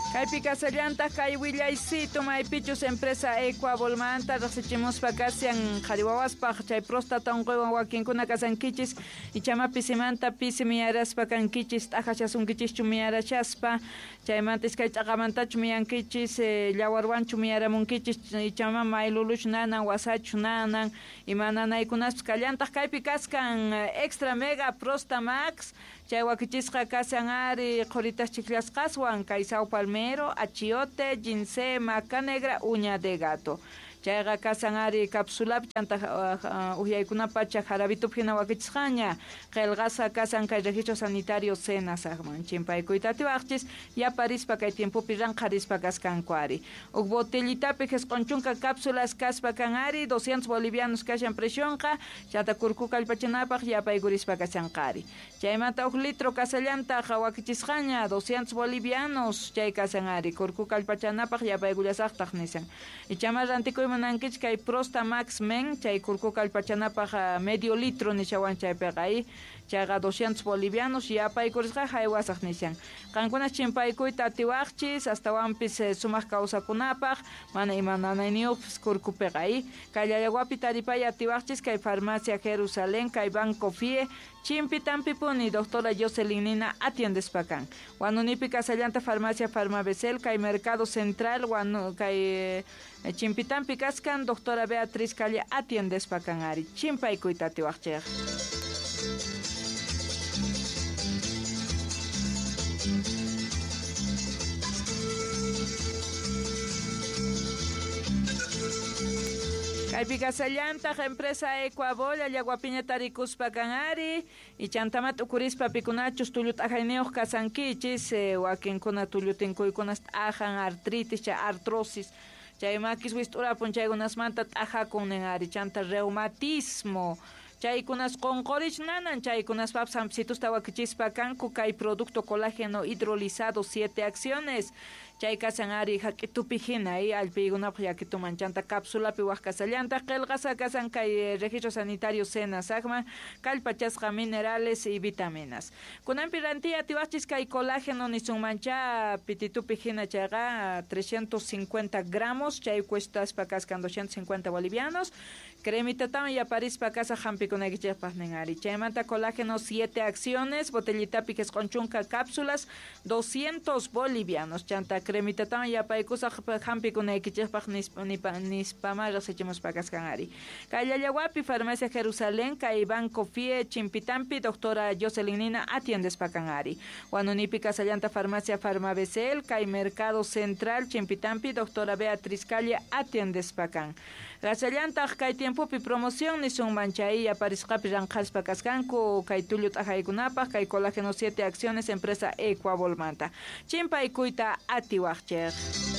Kaypi kasallantaq kay willaycito maypichus empresa Ecuabolmanta riqsichimuspa kashan qhari wawaspaq chay próstata unquywan wakinkuna kasankichis ichama pisimanta pisi miyaraspa kankichis t'aqashasunkichishchu miyarashaspa chaymanta iskay ch'aqamantachu miyankichis llawarwanchu miyaramunkichis ichama mayluluchu nanan wasachu nanan ima nanaykunaspas kallantaq kaypi kaskan Extra Mega Prosta Max chay wakichisqa kashan ari qhuritas chiklasqaswan kay sao palmero, achiote, ginseng, maca negra, uña de gato. Chayqa kasan ari cápsulapi chanta uhyaykunapacha jarabitupi hina wakichisqaña qillqasqa kasan kay registro sanitario SENASAGman chimpaykuyta atiwaqchis yaparispa kay tiempopi ranqharispa kaskanku ari. Huk botellitapi 90 cápsulas kaspa kan ari 200 bolivianos kashan presionqa chanta kurku kallpachanapaq yapaykurispa kashanqa ari. Chaymanta huk litro kasallantaq wakichisqaña 200 bolivianos chay kasan ari kurku kallpachanapaq yapaykullasaqtaq nisan. Ichama rantikuy munankich kay Prosta Max Men chay kurku kallpachanapaq medio litro nishawan chaypiqa ay chayqa 200 bolivianos yapaykurisqa haywasaq nishan. Qankuna chimpaykuyta atiwaqchis astawanpis sumaq kawsakunapaq mana ima nanayniyuqpis kurkupiqa ay kay Llallawapi taripay atiwaqchis kay Farmacia Jerusalén kay Banco FIE Chimpitampipuni doctora Jocelyn Nina atiendespa kan. Wanunipi kasallanta Farmacia Farmabesel kay Mercado Central wanu kay Chimpitampi kaskan doctora Beatriz Calle atiendespa kan ari chimpaykuyta atiwaqchik. Kaypi kasallantaq empresa Ecuabol Llallawapiña tarikuspa kan ari ichantamat ukurispa pikunachus tullu t'ajayniyuq kasankichis wakinkuna tullu tinkuykunas t'ajan artritis chay artrosis chay makis wist'urapun chaykunasmanta t'ajakun nin ari chanta reumatismo chaykunas qunqurich nanan chaykunaspapis hampicitusta wakichispa kanku kay producto colágeno hidrolizado 7 acciones chay kasan ari hak'itupi hina ay allpiykunapaq yakituman chanta cápsulapi waq kasallantaq qillqasqa kasan kay registro sanitario SENASAGman kallpachasqa minerales y vitaminas. Kunanpi rantiy atiwaqchis kay colágeno nisunmancha pititupi hina chayqa 350 gramos chay cuestaspa kaskan 250 bolivianos cremitatawan yaparispa kasaq hampikunaykichikpaq nin ari. Chaymanta colágeno 7 acciones botellitapi 90 cápsulas 200 bolivianos chanta cremitatawan yapaykusaq hampikunaykichikpaq nispama riqsichimuspa kaskan ari. Kay Llallawapi Farmacia Jerusalén kay Banco FIE Chimpitampi doctora Jocelyn Nina atiendespa kan ari. Wanunipi kasallanta Farmacia Farmabesel kay Mercado Central Chimpitampi doctora Beatriz Calle atiendespa kan. Kasallantaq kay tiempopi promoción nisunman chay yaparisqapi ranqhaspa kaskanku kay tullu t'aqaykunapaq kay colágeno 7 acciones empresa Ecuabolmanta. Chimpaykuyta atiwaqchik.